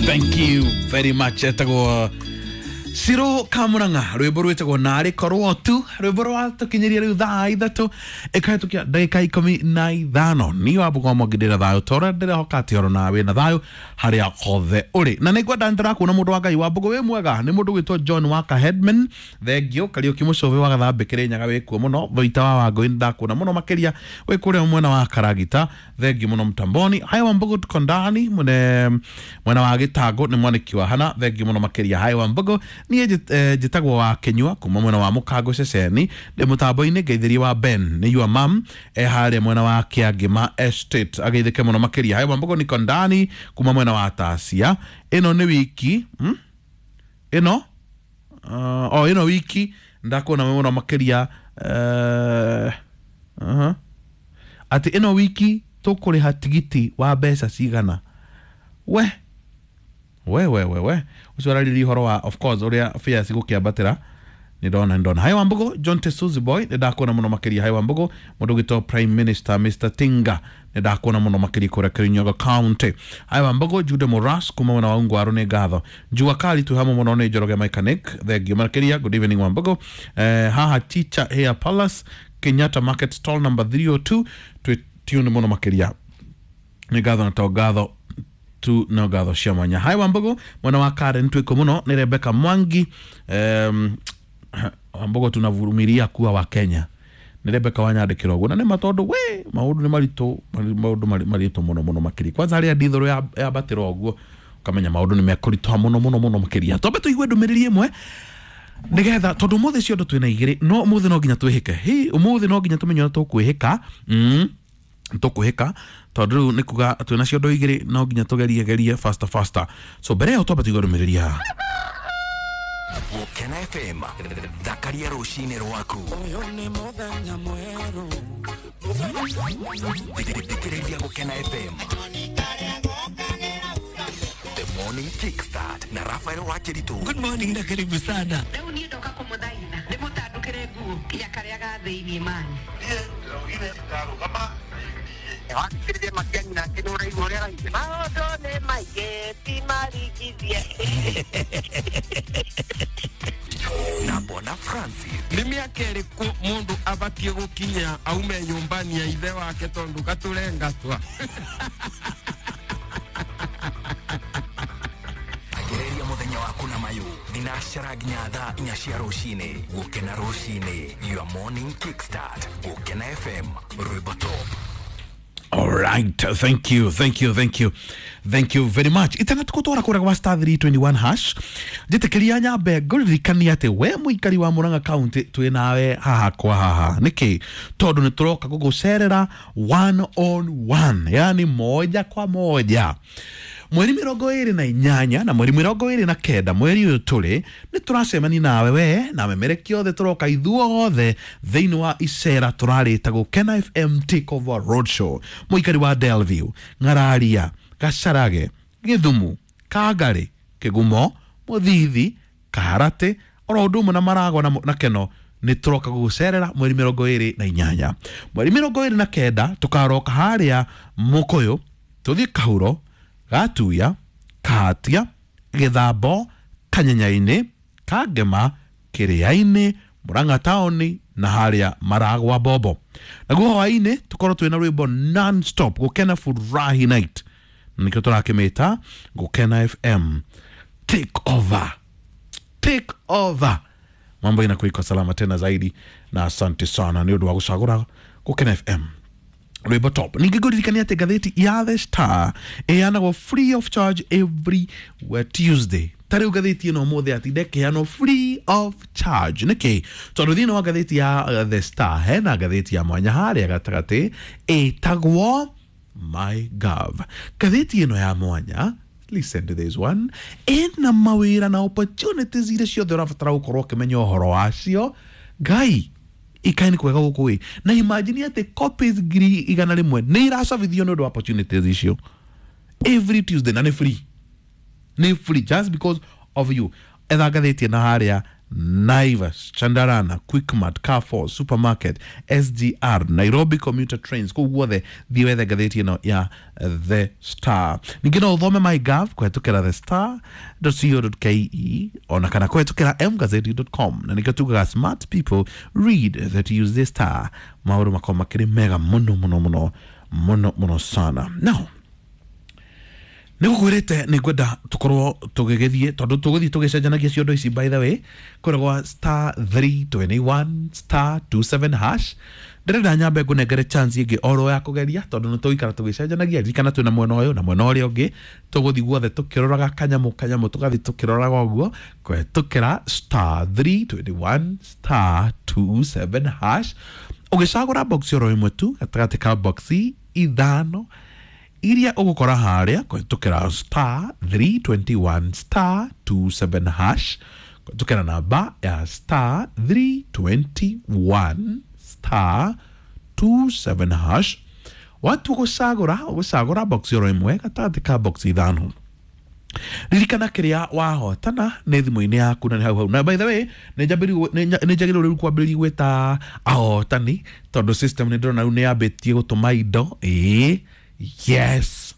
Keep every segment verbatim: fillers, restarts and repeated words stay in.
Thank you very much. Etagwo Ciro Kamurang'a, rwimbo rwitagwo narĩ korwo tu, rwimbo rwatũkinyĩria rĩu thaa ithatũ ĩkahĩtũkia ndagĩka ikũmi na ithano. Niĩ wa Mbũgwa Mwangi ndĩna thayũ ta ũrĩa ndĩrehoka atĩ oro nawe wĩna thayũ harĩa hothe ũrĩ. Na nĩngwenda nĩndĩrakuona mũndũ wa Ngai wa Mbũgũ wĩ mwega, nĩ mũndũ gwĩtwo John Waka Headman, thengio Kariũki Mũcũbĩ wa Gathambĩ Kĩrĩnyaga wĩkuo mũno, Thoita wa Wangũi nĩndakuona mũno makĩria wĩ kũrĩa mwena wa Karagita, thengio mũno Mtamboni. Haya wa Mbũgũ tuko ndani mwene mwena wa Gĩtangũ nĩ mwanĩki wa Hana, thengio mũno makĩria. Haya wa Mbũgũ niĩ njĩtagwo wa Kĩnyua kuma mwena wa Mũkango ceceni, ndĩ mũtambo-inĩ ngeithĩrie wa Ben nĩ your mum e harĩa mwena wa Kĩangĩma Estate, ageithĩke mũno makĩria. Haya wa Mbũgũ niko ndani kuma mwena wa Tasia, ĩno nĩ wiki hmm? ĩno uh, o ĩno wiki ndakuona mũno makĩria uh, uh-huh. Atĩ ĩno wiki tũkũrĩha tigiti wa mbeca cigana we we we we we ucio araririe ũhoro wa of course ũrĩa fares igũkĩambatĩra. Nĩ ndona nĩ ndona Hai wa Mbũgũ John Tesuzi boy nĩ ndakuona mũno makĩria. Hai wa Mbũgũ mũndũ ũgĩtwo Prime Minister Mister Tinga nĩ ndakuona mũno makĩria kũrĩa Kirinyaga County. Hai wa Mbũgũ Jude Moras kuma mwena wa Ungwaru nĩ ngatho. Jua Kali twĩ hamwe mũno nĩ Njoroge Mechanic, thengio makĩria. Good evening wa Mbũgũ. Eh, haha Teacher Hair Palace Kenyatta Market stall number three oh two twĩ tune mũno makĩria, nĩ ngatho na to ngatho tu no ngatho cia mwanya. Hai wa Mbũgũ mwena wa Karen twĩko mũno nĩ Rebecca Mwangi. um, Wambũgũ tunavumilia kuwa wa Kenya nĩ Rebecca wanyandĩkĩra ũguo, na nĩ ma tondũ we maũndũ nĩ maritũ, maũndũ maritũ mũno mũno makĩria, kwanza harĩa ndithũrũ yambatĩra ũguo ũkamenya maũndũ nĩ mekũritũha mũno mũno mũno makĩria. Twambe tũigue ndũmĩrĩri ĩmwe nĩgetha tondũ ũmũthĩ ciondo twĩna igĩrĩ, no ũmũthĩ no nginya twĩhĩke. Hi ũmũthĩ no nginya tũmenye ũrĩa tũkwĩhĩka. mm. Tũkwĩhĩka tondũ rĩu nĩ kuga twĩna ciondo igĩrĩ, no nginya tũgerie gerie faster faster. So mbere ĩyo twambe tũigue ndũmĩrĩri haha. Gũkena F M thakaria rũcinĩ rwaku. Ũyũ nĩ mũthenya mwerũ. Thikĩrĩria Gũkena F M. The Morning Kickstart na Rafael Wakiritu. Good morning na karibu sana. Rĩu niĩ ndoka kũmũthaitha ndĩmũtandũkĩre nguo nginya karĩa ga thĩinĩ mani. Wakĩrĩria Matiang'i nake nĩ ũraigua ũrĩa araigua. Maũndũ nĩ maingĩ ti maringithie. Na Bwana Francis. Nĩ mĩaka ĩrĩkũ mũndũ abatiĩ gũkinya aume nyũmba-inĩ ya ithe wake tondũ gatũrengatwa? Agereria mũthenya waku na mayũ thinacara nginya thaa inya cia rũcinĩ. Gũkena rũcinĩ, your morning kickstart. Gũkena F M, rwĩmbo top. All right, thank you, thank you, thank you, thank you very much. Itana tukutwara kũrĩa gwa star three twenty-one hash. Njĩtĩkĩria nyambe ngũririkanie atĩ we mũikari wa Murang'a County twĩ nawe haha kwa haha. Nĩkĩ? Tondũ nĩ tũroka gũgũcerera one on one, yani moja kwa moja. Mweri mĩrongo ĩrĩ na inyanya na mweri mĩrongo ĩrĩ na kenda mweri ũyũ tũrĩ nĩ tũracemania nawe we na memereki othe, tũroka ithuothe thĩinĩ wa icera tũrarĩta Gũkena F M Takeover Roadshow. Mũikari wa Delview, Ng'araria, Gacarage, Gĩthumu, Kangarĩ, Kĩgumo, Mũthithi, Kaharatĩ oro ũndũ ũmwe na Maragwa na, na Keno nĩ tũroka gũgũcerera mweri mĩrongo ĩrĩ na inyanya. Mweri mĩrongo ĩrĩ na kenda tũkaroka harĩa Mũkũyũ, tũthiĩ Kahuro, Gatuya, Kahatia, Gĩthambo, Kanyenyainĩ, Kangema, Kĩrĩainĩ, Murang'a taũni na harĩa Maragwa Bobo. Naguo hwaĩ-inĩ tũkorwo twĩna rwĩmbo non-stop Gũkena Furahi Night, nĩkĩo tũrakĩmĩta Gũkena F M Take Over. Take Over. Mambo inakuwa iko salama tena zaidi, na asante sana nĩ ũndũ wa gũcagũra Gũkena F M rwĩmbo top. Ningĩ ngũririkania atĩ ngathĩti ya The Star ĩheanagwo free of charge every Tuesday. Ta rĩu ngathĩti ĩno ũmũthĩ atinda ĩkĩheanwo free of charge. Nĩkĩ? Tondũ thĩinĩ wa ngathĩti ya The Star hena ngathĩti ya mwanya harĩa gatagatĩ ĩtagwo My Gov. Ngathĩti ĩno ya mwanya, listen to this one, ĩna mawĩra na opportunities iria ciothe ũrabatara gũkorwo ũkĩmenya ũhoro wacio. Ngai ikaini kwega gũkũ ĩ, na imagine atĩ copies ngiri igana rĩmwe nĩ iracabithio nĩ ũndũ wa opportunities icio every Tuesday, na nĩ free, nĩ free just because of you. Etha ngathĩti ĩno harĩa Naivas, Chandarana, Quickmart, Carrefour, Supermarket, S G R, Nairobi Commuter Trains, kũu guothe thiĩ wethe ngathĩti ĩno ya The Star. Ningĩ no ũthome MyGov kũhetũkĩra the star dot co dot ke ona kana kũhetũkĩra m gazeti dot com, na nĩkĩo tugaga smart people read the Tuesday Star. Maũndũ makorwo makĩrĩ mega mũno mũno mũno mũno mũno sana. Now nä gå kwä rä te nä ngwenda tå korwo tå gä gä thiä tondå tå gå thiä tå gä cenjanagia ciondo ici by the way kå gwa star three twenty-one star two seven hash. Ndĩrenda nyambe ngũnengere chance ĩngĩ oro ya kũgeria tondũ nĩ tũgũikara tũgĩcenjanagia. Ririkana twĩna mwena ũyũ na mwena ũrĩa ũngĩ, tũgũthiĩ guothe tũkĩroraga kanyamũ kanyamũ, tũgathiĩ tũkĩroraga ũguo kũhetũkĩra star three twenty-one star two seven hash. Ũgĩcagũra box oro ĩmwe tu gatagatĩ ka boxi ithano iria ũgũkora harĩa kũhetũkĩra star three twenty-one star two seven hash, kũhetũkĩra namba ya star three twenty-one star two seven hash. Watu gũcagũra ũgũcagũra box oro ĩmwe gatagatĩ ka box ithano. Ririkana kĩrĩa wahotana nĩ thimũ-inĩ yaku na nĩ hau hau. Na by the way nĩ njagĩrĩirwo rĩu kwambĩrĩria gwĩta ahotani tondũ system nĩ ndĩrona rĩu nĩ yambĩtie gũtũma indo. Ĩĩ, yes,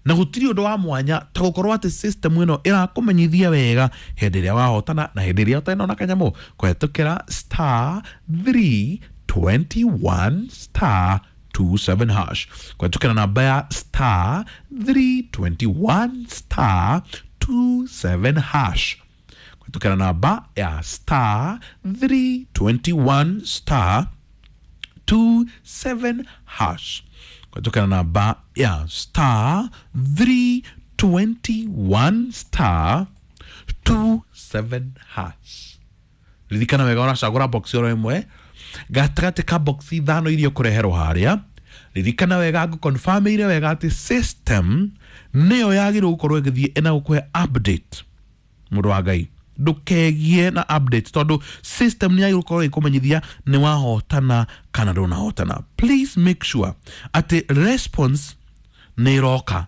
na gũtirĩ ũndũ wa mwanya ta gũkorwo atĩ system ĩno ĩrakũmenyithia wega hĩndĩ ĩrĩa wahotana na hĩndĩ ĩrĩa ũtarĩ na kanyamũ kũhetũkĩra star three twenty-one star two seven hash, kũhetũkĩra namba ya star three twenty-one star two seven hash, kũhetũkĩra namba ya star three twenty-one star two seven hash, kũhetũkĩra namba ya star three twenty-one star two seven hash. Ririkana wega ũracagũra box oro ĩmwe gatagatĩ ka box ithano iria ũkũreherwo harĩa. Ririkana wega ngũconfirmĩire wega atĩ system nĩyo yagĩrĩirwo gũkorwo ĩgĩthiĩ ĩna gũkũhe update. Mũndũ wa Ngai, ndũkegie na update tondũ system nĩ yagĩrĩirwo gũkorwo ĩkũmenyithia nĩ wahotana kana ndũnahotana. Please make sure atĩ response nĩ ĩroka.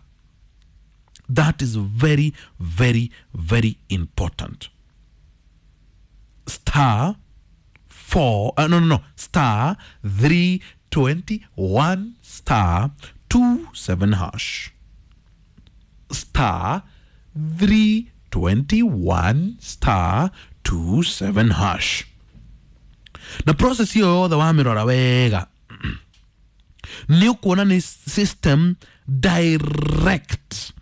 That is very very very important. Star four uh, no no no star three twenty-one star two seven hash, star three twenty-one star two seven hash. Na process hiyo yothe wamĩrora wega nĩ ũkuona nĩ system direct,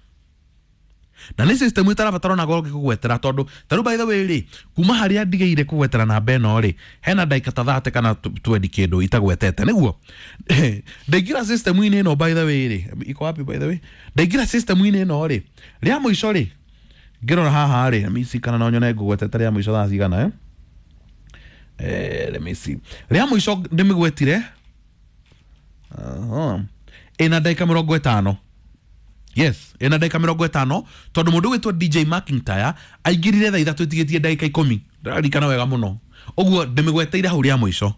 na nĩ system ĩtarabatara ona goro gĩkũgwetera tondũ tarĩu by the way rĩ, kuma harĩa ndigĩire kũgwetera namba ĩno rĩ, hena ndagĩka ta thate kana twendi kĩndũ itagwetete nĩguo ndaingĩra system-inĩ ĩno by the way rĩ, iko wapi by the way, ndaingĩra system-inĩ ĩno rĩ, rĩa mũico rĩ ngĩrora haha rĩ, let me see kana no nyone ngũgwetete rĩa mũico thaa cigana eh? Eh, let me see rĩa mũico ndĩmĩgwetire uh-huh. Ĩna ndagĩka mĩrongo ĩtano. Yes, ĩna ndagĩka mĩrongo ĩtano tondũ mũndũ ũgwĩtwo D J McIntyre aingĩrire thaa ithatũ ĩtigĩtie ndagĩka ikũmi. Ndĩraririkana wega mũno. Ũguo ndĩmĩgweteire hau rĩa mũico.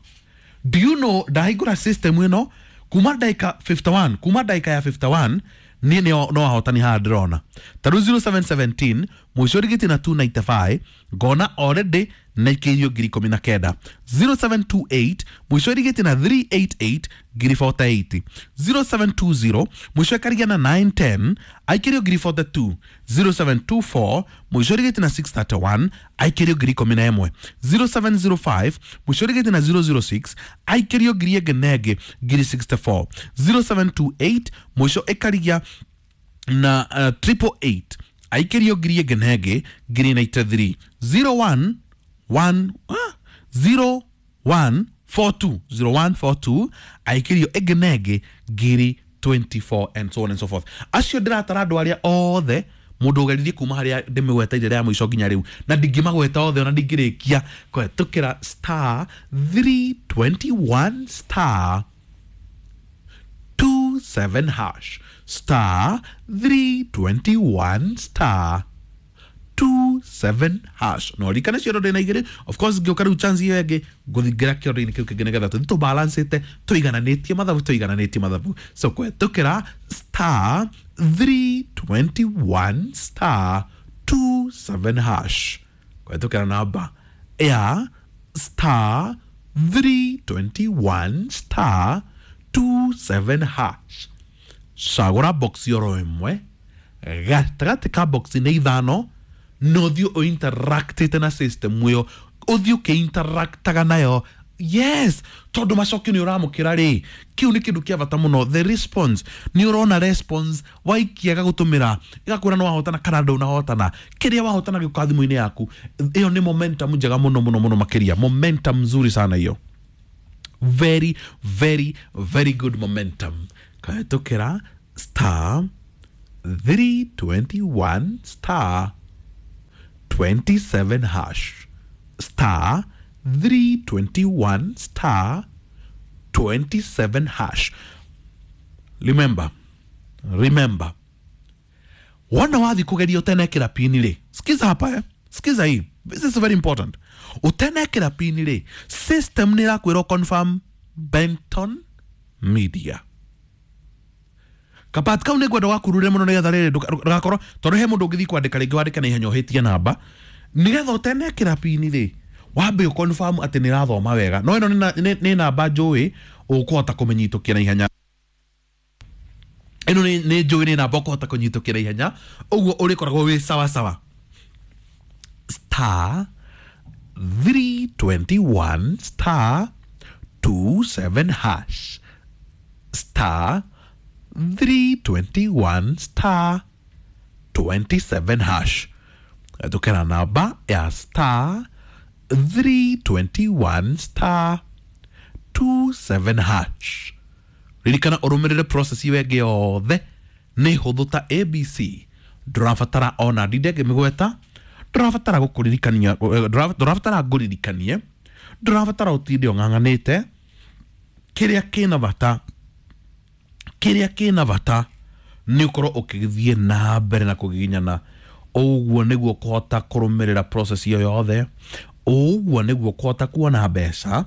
Do you know ndahingũra system ĩno kuma ndagĩka fifty-one, kuma ndagĩka ya fifty-one niĩ nĩo no ahotani haha ndĩrona. Ta rĩu zero seven seventeen mũico rĩgĩtie na two ninety-five ngona already na ikĩirio ngiri ikũmi na kenda. zero seven two eight mũico rĩgĩtie na three eight eight ngiri forty-eight. zero seven two zero mũico ĩkarigia na nine ten aikĩrio ngiri forty-two. zero seven two four mũico rĩgĩtie na six thirty-one aikĩrio ngiri ikũmi na ĩmwe. zero seven zero five mũico rĩgĩtie na zero zero six aikĩrio ngiri ĩngĩ na ĩngĩ ngiri sixty-four. zero seven two eight mũico ĩkarigia na uh, triple eight aikĩrio ngiri ĩngĩ na ĩngĩ ngiri ninety-three. zero one one ah, zero one four two zero one four two aikĩrio ĩngĩ na ĩngĩ ngiri twenty-four and so on and so forth. Acio ndĩratara andũ arĩa othe mũndũ ũgeririe kuma harĩa ndĩmĩgweteire rĩa mũico nginya rĩu na ndingĩmagweta othe ona ndingĩrĩkia kũhetũkĩra star three twenty-one star two seven hash, star three twenty-one star two seven hash. No ririkane ciondo ndĩna igĩrĩ, of course ngĩũka rĩu chance ĩyo ĩngĩ ngũthingĩra kĩondo-inĩ kĩu kĩngĩ nĩgetha tũthiĩ tũbalancĩte tũigananĩtie mathabu tũigananĩtie mathabu. So kũhetũkĩra star three twenty-one star two seven hash, kũhetũkĩra namba ya star three twenty-one star twenty-seven hash. Cagũra box oro ĩmwe gatagatĩ ka box nĩ ithano na ũthiĩ ũinteractĩte na system ĩyo, ũthiĩ ũkĩinteractaga nayo. Yes, tondũ macokio nĩ ũramũkĩra rĩ, kĩu nĩ kĩndũ kĩa bata mũno. The response, nĩ ũrona response waikia gagũtũmĩra ĩgakwĩra nĩ wahotana kana ndũnahotana, kĩrĩa wahotana gĩũka thimũ-inĩ yaku. Ĩyo nĩ momentum njega mũno mũno mũno makĩria, momentum nzuri sana hiyo, very very very good momentum. Kahĩtũkĩra star three twenty-one star twenty-seven hash, star three twenty-one star twenty-seven hash. Remember, remember, wona wathi kugeria utenekera pini ri, sikiza hapa eh? Sikiza hii, this is very important. Utenekera pini ri, system ni rakwira confirm Benton Media. Kapat kau nĩ ngwenda wakurure mũno nĩgetha rĩrĩ ndũgakorwo tondũ he mũndũ ũngĩthiĩ kwandĩka rĩngĩ wandĩka na ihenya ũhĩtie namba, nĩgetha ũtenekera pini rĩ wambe ũconfirm atĩ nĩ ĩrathoma wega. No ĩno nĩ namba njũĩ ũkũhota kũmĩnyitũkia na ihenya, ĩno nĩ njũĩ nĩ namba ũkũhota kũnyitũkia na ihenya, ũguo ũrĩkoragwo wĩ sawa sawa. Star three twenty-one star twenty-seven hash, star three twenty-one star twenty-seven hash. Tukera namba ya star three twenty-one star twenty-seven hash. Ririkana ũrũmĩrĩre process ĩyo ĩngĩ yothe nĩ hũthũ ta A B C. Ndũrabatara ona ndinde ngĩmĩgweta, ndũrabatara gũkũririkania, ndũrabatara ngũririkanie, ndũrabatara ũtinde ũng'ang'anĩte. Kĩrĩa kĩna bata, kĩrĩa kĩna bata nĩ ũkorwo ũkĩthiĩ na mbere na kũgiginyana. Ũguo nĩguo kũhota kũrũmĩrĩra process ĩyo yothe, ũguo nĩguo kũhota kuona mbeca,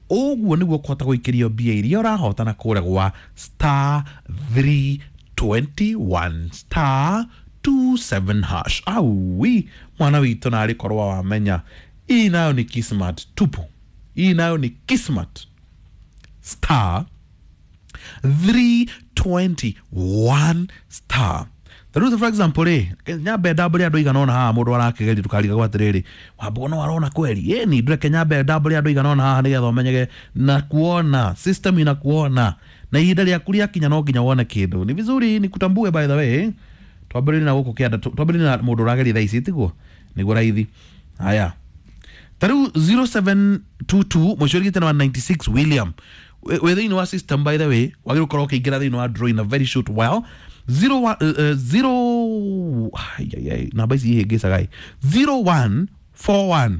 ũguo nĩguo kũhota gũikĩrio mbia iria ũrahotana kũrĩa gwa star three twenty-one star twenty-seven hash. Aui, mwana witũ narĩ korwo wamenya hii nayo ni kismat tupu, hii nayo ni kismat. Star three twenty-one star. Tarĩu for example rĩ, nyambe ndambũre andũ aigana ũna haha mũndũ arakĩgeria ndũkarigagwo atĩrĩrĩ, wambũgo no arona kweli. Ĩni ndũreke nyambe ndambũre andũ aigana ũna haha nĩgetha ũmenyege na kuona system inakuona, na ihinda rĩaku rĩakinya no nginya wone kĩndũ. Ni vizuri nikutambue by the way. Twambĩrĩrie na gũkũ kĩanda, twambĩrĩrie na mũndũ ũrageria thaa ici tiguo nĩguo raithi. Haya, tarĩu zero seven two two mũico ũrigĩte na one ninety-six William wĩ thĩinĩ wa system by the way, wagĩrĩirwo gũkorwo ũkĩingĩra thĩinĩ wa draw in a very short while. Zero one uh, zero ay ay namba ici ihĩngĩcaga ĩ zero one four one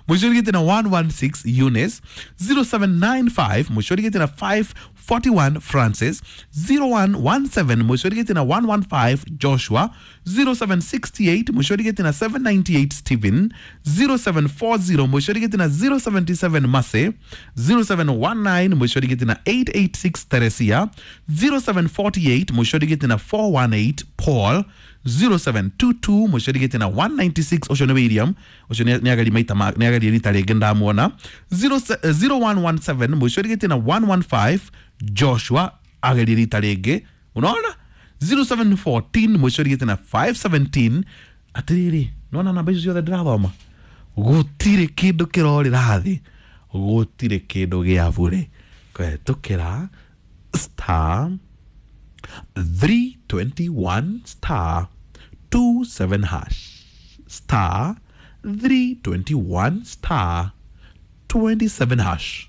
mũico ũrigĩte na one one six Eunice, zero seven nine five mũico ũrigĩte na five forty-one Francis, zero one one seven mũico ũrigĩte na one one five Joshua, zero seven six eight mũico ũrigĩte na seven ninety-eight Stephen, zero seven four zero mũico ũrigĩte na zero seventy-seven Mase, zero seven one nine mũico ũrigĩte na eight eight six Teresia, zero seven four eight mũico ũrigĩte na four one eight Paul, zero seven two two mũico ũrigĩte na one ninety-six ũcio nĩ William, ũcio nĩ ageria maita nĩ ageria rita rĩngĩ ndamuona, zero one one seven mũico ũrigĩte na one one five Joshua ageria rita rĩngĩ, unaona, zero seven one four mũico ũrigĩte na five seventeen. Atĩrĩrĩ, nĩwona namba icio ciothe ndĩrathoma, gũtirĩ kĩndũ kĩrorĩra thĩ, gũtirĩ kĩndũ gĩa bure. Kũhetũkĩra star three twenty-one star twenty-seven hash, star three twenty-one star twenty-seven hash.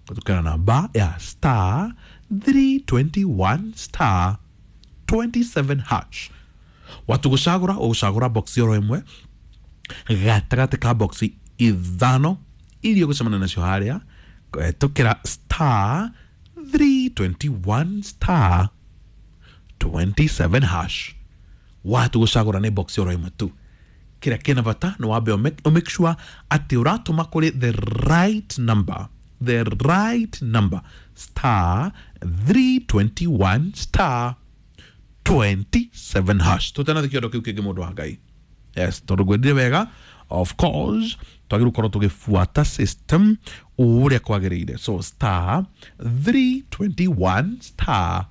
Kutokana namba ya star three twenty-one star twenty-seven hash. Watu gũcagũra ũgũcagũra box oro ĩmwe gatagatĩ ka box ithano iria ũgũcemania nacio harĩa kũhetũkĩra star three twenty-one star twenty-seven hash. Watu gũcagũra nĩ box oro ĩmwe tu. Kĩrĩa kĩna bata nĩ wambe ũ make sure atĩ ũratũma kũrĩ the right number, the right number, star three twenty-one star twenty-seven hash. Tũtanathi kĩondo kĩu kĩngĩ mũndũ wa Ngai. Yes, tondũ ngwendire wega, of course Twagĩrĩirwo gũkorwo tũgĩbuata system ũrĩa kwagĩrĩire. So star three twenty-one star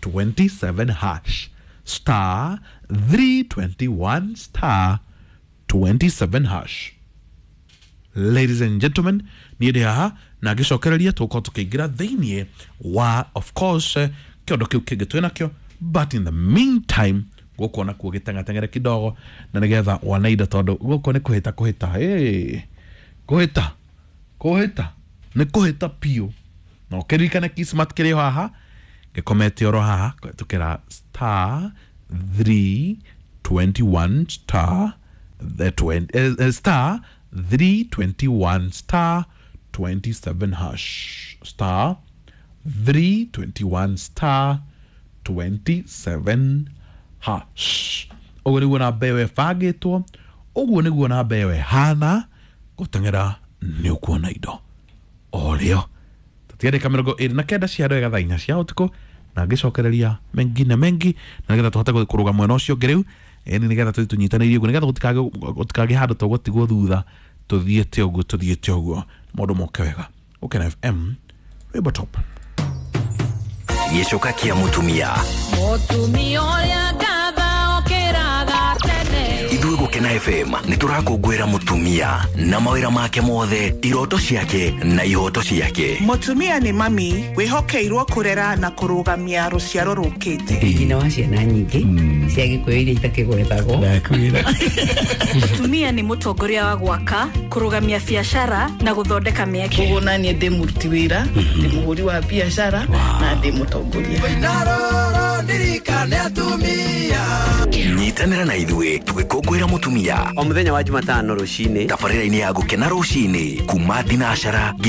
twenty-seven hash, star three twenty-one star twenty-seven hash. Ladies and gentlemen, niĩ ndĩ haha na ngĩcokereria tũgũkorwo tũkĩingĩra thĩiniĩ wa of course kĩondo kĩu kĩngĩ twĩ nakĩo, but in the meantime gũkũ nakuo gĩteng'ateng'ere kidogo na nĩgetha wanaida, tondũ gũkũ nĩ kũhĩta kũhĩta, hey, kũhĩta kũhĩta nĩ kũhĩta piũ. Na ũkĩririkane Kismat kĩrĩ haha gĩkomete oro haha kũhĩtũkĩra star three twenty-one star the twenty, eh, star three twenty-one star twenty-seven hash, star three twenty-one star twenty-seven hash. Ũguo nĩguo namba ĩyo ĩbangĩtwo, ũguo nĩguo namba ĩyo ĩhana. Gũteng'era nĩ ũkuona indo o rĩo. Tũtiandĩka mĩrongo ĩrĩ na kenda cia wega thaa inya cia ũtukũ, na ngĩcokereria mengi na mengi na nĩgetha tũhote kũrũga mwena ũcio ũngĩ rĩu, ĩni nĩgetha tũthiĩ tũnyitanĩirie ũguo, nĩgetha gũtikage gũtikagĩe handũ tũgũtigwo thutha, tũthiĩte ũguo tũthiĩte ũguo, maũndũ moke wega. Gũkena F M, rwĩmbo top. Gĩcoka kĩa mũtumia. Mũtumia ũrĩa ngatha okĩraga tene. Ithuĩ Gũkena F M nĩ tũrakũngũĩra mũtumia na mawĩra make mothe, iroto ciake na ihoto ciake. Mũtumia nĩ mami wĩhokeirwo kũrera na kũrũgamia rũciaro rũkĩte. Nyina wa ciana nyingĩ cia Gĩkũyũ iria itakĩgwetagwo. Mũtumia nĩ mũtongoria wa gwaka, kũrũgamia biacara na gũthondeka mĩeke. Ũguo na niĩ ndĩ mũruti wĩra, ndĩ mũhũri wa biacara na ndĩ mũtongoria. Nyitanĩra na ithuĩ tũgĩkũngũĩra mũtumia o mũthenya wa Jumatano rũcinĩ, tabarĩra-inĩ ya Gũkena rũcinĩ kuma thinacara nginya